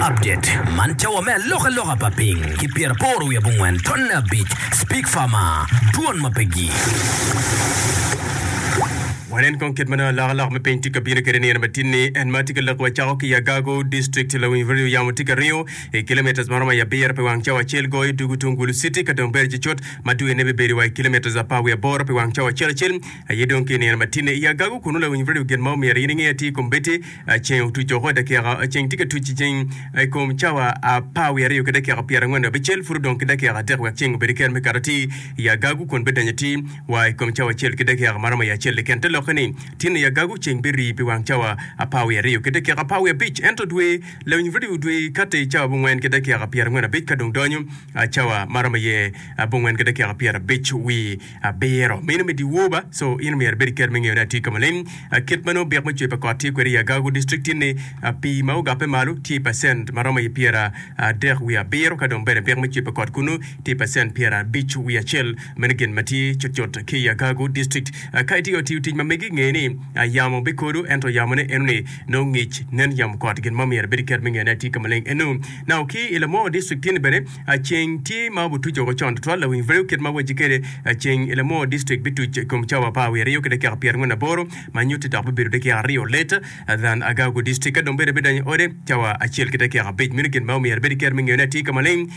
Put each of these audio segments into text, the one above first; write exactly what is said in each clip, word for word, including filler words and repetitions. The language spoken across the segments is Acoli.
Update man cawa me alokaloka pa piny ki pyeraboro wiye abongwen tonne abic Speak Farmer dwon ma pe gik. Wanen kong kit ma nongo alokaloka me piny tye ka bino kwede nino matin-ni. En ma tye ka lok wacako ki i Agago District lawiny radio yamo tye ka ringo i kilometres ma romo i abiro pi wang cawa acel goyo dugu tung Gulu City ka dong bedo cucut ma dwene bibedo wa i kilometres apar wiye aboro pi wang cawa acel acel aye dong ki i nino matin-ni. I Agago kunu lawiny radio gin ma omyero in inge atir kombeddi ceng otuc woko i dakika ceng tye ka tuc i ceng i kom cawa apar wiye aryo ki dakika pyerangwen wiye abicel pud odong ki dakika adek wek ceng obed kero me kato atir i Agago kun bidonyo atir wa i kom cawa acel ki dakika ma romo i acel keken. Te lokke ni, tin i Agago ceng birii pi wang cawa apar wiye aryo ki dakika apar wiye abic, ento dwe lawiny redio dwe kati i cawa abongwen ki dakika pyerangwen abic ka dong donyo cawa ma romo iye abongwen ki dakika pyerabic wiye abiro. Meno me dyewor ba, so in omyero ibed ki kero me ngeyo ni atye ka maleng. Kit ma nongo byek me cwer pa kot tye kwede i Agago District tin ni pii ma ogappe malo tye i pacent ma romo iye pyeradek wiye abiro ka dong bene byek me cwer pa kot kunu tye i pacent pyerabic wiye acel. Meno gin ma tye cutcut ki i Agago District. Ka itye ka tiyo tic ma megi, nge ni yamo bikodo, ento yamone enoni nongo ngic. Nen yamo kot gin mo myero ibed ki kero me ngeyone atir ka maleng eno. Now ki i Lamor District tye ni bene ceng tye ma obutuco woko con tutwal. Lawiny Vreu kit ma wacci kwede ceng i Lamor District bituc i kom cawa apar wiye aryo ki dakika pyerangwen aboro ma nyutti dok bibedo dakika aryo later than Agago District ka dong bene bidonyo i ode cawa acel ki dakika abic. Meno gin ma omyero ibed ki kero me ngeyone atir ka maleng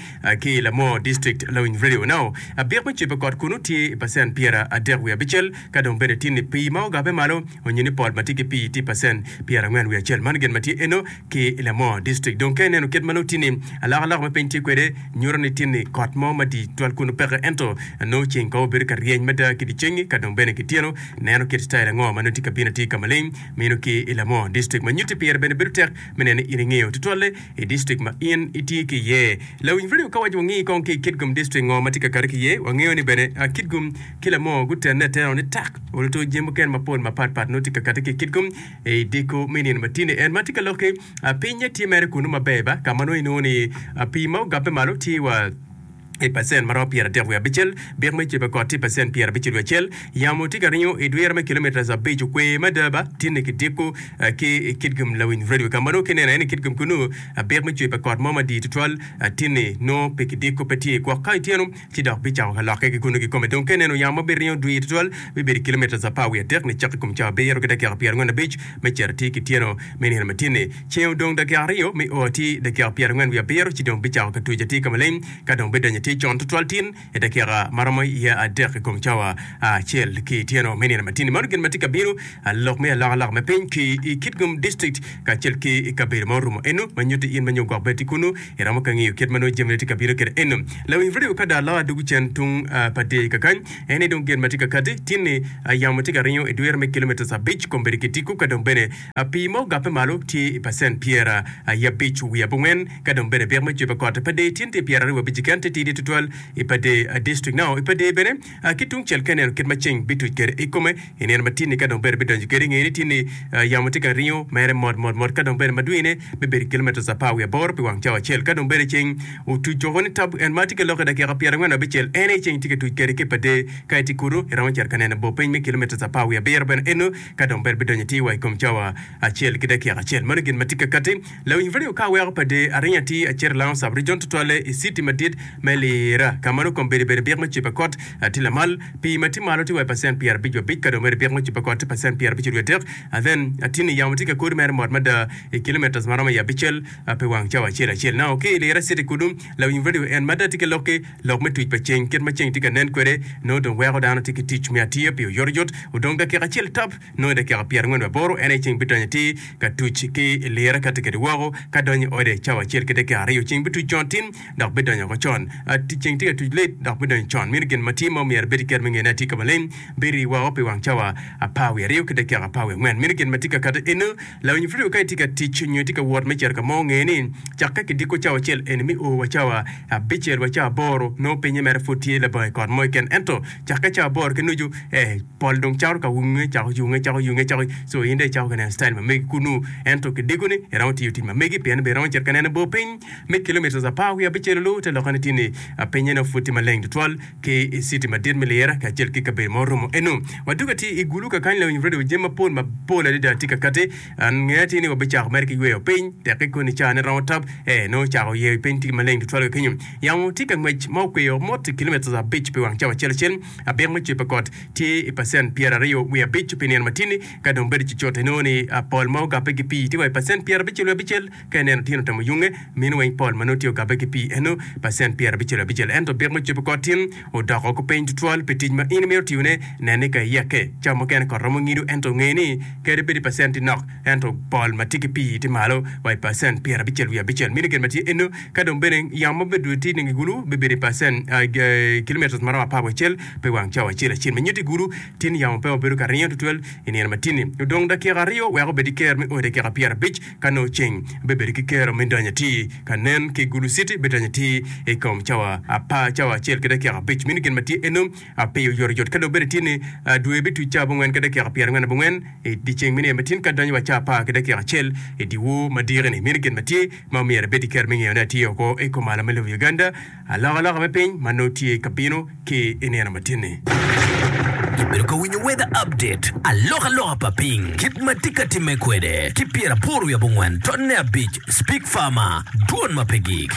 ki i Lamor District. Lawiny Radio Now abik me cwebe kot kunu tye i pacent pyera adek wiye abicel ka dong bene tye ni pii ma ogabe malo onyo ni pol ma tye ki pii tye i pacent pyera angwen wiye acel. Man gin ma tye eno ki i Lamor District. Dong ka ineno kit ma nongo tye ni alokaloka me piny tye kwede nyuto ni tye ni kot mo madit twal kunu peke ento nongo ceng kong obedo ka ryeny mada ki dyecengi ka dong bene kityeno neno kit style ango ma nongo tye ka bino atir ka maleng meno ki i Lamor District ma nyutti pire bene bedo tek me neno ni in ingeyo tutwalle i district ma in itye ki iye. Lawiny radio ka waco wangi kong ki i Kitgum District ngo ma tye ka kati ki iye, wangeyo ni bene Kitgum ki Lamor gutenne atena ni tak oluto jami mukene mapol mapat pat nongo tye ka kati ki i Kitgum i diko me nino matini. En ma tye ka lok-ki, pinye tye mere kunu maber ba ka ma nongo inongo ni pii ma ogabbe malo tye wa i pacent ma romo pyeradek wiye abicel, byek me cebe kot tye i pacent pyerabicel wiye acel. Yamo tye ka ringo i dwiro me kilometres abic okwe mada ba tinne ki diko ki i Kitgum Lawiny Radio ka ma nongo kineno aye ni Kitgum kunu byek me cwer pa kot mo madit tutwal tinni nongo pe ki diko pe tye gwok ka ityeno ci dok bicako ka lokke ki kunu kikome. Dong ka ineno yamo ma biringo dwir tutwal bibedo i kilometres apar wiye adek nicok i kom cawa abiro ki dakika pyerangwen abic me cito atir ki tyeno me nino ma tinni. Ceng odong dakika aryo me o atir dakika pyerangwen wiye abiro ci dong bicako ka tuc atir ka maleng ka dong bidonyo atir con tutwal tin i dakika ma romo iye adek i kom cawa acel ki tyeno me nino matin-ni. Meno gin ma tye ka bino, lok me alokaloka me piny ki i Kitgum District kacel ki i kabedo ma orumo eno ma nyutti in ma nyo gwok bene tye kunu iromo ka ngiyo kit ma nongo jamine tye ka bino kwede eno. Lawiny radio ka dong aloka dugu cen tung pa deyo kakany en aye dong gin ma tye ka kati tin-ni yamo tye ka ringo i dwiro me kilometres abic kombeddi ki tiku ka dong bene pii ma ogappe malo tye i pacent pyera abic wiye abongwen Ka dong bene byek me cwer pa kot i Padee tyen tye pyeraryo wa abic keken titidi tutwal i Padee District. Now i Padee bene ki tung cel ka ineno kit ma ceng bituc kwede i kome i nino ma tinni ka dong bene bidonyo kwede inge ni tinni yamo tye ka ringo mere mot mot mot ka dong bene madwine bibedo kilometres apar wiye aboro pi wang cawa acel ka dong bene ceng otuc woko ni tab en ma tye ka lok i dakika pyerangwen abicel en aye ceng tye ka tuc kwede ki i Padee ka itye kunu iromo cito ka neno bor piny me kilometres apar wiye abiro bene eno ka dong bene bidonyo atir wa i kom cawa acel ki dakika acel. Meno gin ma tye ka kati. Lawiny radio ka weko pa dee aringo atir acito i Lango Sub Region tutwalle i citi madit me Lira ka ma nongo kombeddi bedo byek me cwer pa kot tye lamal. Pii ma tye malo tye wa i pacent pyerabic wa abic ka dong bedo byek me cwer pa kot tye pacent pyerabicel wiye adek. Then atinni yamo tye ka kodi mere mot mada i kilometres ma romo i abicel pi wang cawa acel acel. Now ki i Lira citi kunu lawiny radio en mada tye ki lokki lok me tuc pa ceng kit ma ceng tye ka nen kwede nongo dong weko dano tye ki tic me atiya pi oyotoyot odong dakika acel tap Nongo i dakika pyerangwen wiye aboro en aye ceng bidonyo atir ka tuc ki i lirre ka tye kwede woko, ka donyo i ode cawa acel ki dakika aryo. Ceng bituc con tin, dok bidonyo woko con. Ceng tye ka tuc late, dok bidonyo con. Meno gin ma tye ma omyero ibed ki kero me ngene atir ka maleng, birii woko pi wang cawa apar wiye aryo ki dakika apar wiye angwen. Meno gin ma tye ka kati eno. Lawiny pud ka itye ka tic nyo itye ka wot me cito ka mo, nge ni cakke ki diko cawa acel eni me o wa cawa abicel wa cawa aboro nongo pinye mere pud tye labongo i kot mo keken. Ento cakke cawa aboro ki nucu, eh, pol dong cako ka wunge, cako yunge, cako yunge, cako, so in dong icako ka neno style ma megi kunu. Ento ki diko-ni iromo tiyo tic ma megi pien bene iromo cito ka neno bor piny me kilometres apar wiye abicel olu te lokke ni tye ni Pinye nongo pud tye maleng tutwal ki i citi madit me Lira kacel ki kabedo ma oromo eno. Wadwogo atir i Gulu kakany lawiny radio jami mapol mapol adada tye ka kati. An ngeya tye ni wabicako mere ki yweyo piny tekke koni ca ne romo tap ee nongo ocako yeyo piny tye maleng tutwal ka kenyo. Yamo tye ka ngwec ma okweyo mot i kilometres abic pi wang cawa acel acel. Abik me cwer pa kot tye i pacent pyeraryo wiye abic pi nino matini ka dong bedo cucut inongo ni pol ma ogabbe ki pii tye wa i pacent pyerabicel wiye abicel ka ineno tyen otemo yunge mino weng pol ma nongo tye ogabbe ki pii eno pacent pyerabicel wiye abicel ento bik me cwer pa kot tin odoko ko piny tutwal pi tic ma in imito tiyone nen ni ka iyekke cawa mukene kot romo ngido ento nge ni kadi bed i pacent tye nok ento pol ma tye ki pii tye malo wa i pacent pyerabicel wiye abicel mino gin ma tye eno ka dong bene yamo ma bedo tye i gulu bibedo i pacent kilometres ma romo apar wiye acel pe wang cawa acel acel ma nyuto i gulu tin yamo pe wabedo ka ringo tutwal i nino matini odong dakika aryo wek obed ki ker me o i dakika pyerabic ka nongo ceng bibedo ki kero me donyo atir ka nen ki Gulu City bidonyo atir i kom cawa apar cawa acel ki dakika abic meno gin ma tye eno apiyo oyotoyot ka dong bedo tye ni dwe bituc cawa abongwen ki dakika pyerangwen abongwen i dyeceng me nino matin ka donyo wa cawa apar ki dakika acel i dyewor madiki-ni meno gin ma tye ma omyero ibed ki kero me ngeyone atir oko i kom malo me lobo Uganda alokaloka me piny ma nongo tye ka bino ki i nino matin-ni. Ibedo ka winyo Weather Update, alokaloka pa piny, kit ma tye ka timme kwede, ki pyeraboro wiye abongwen tonne abic, Speak Farmer, dwon ma pe gik.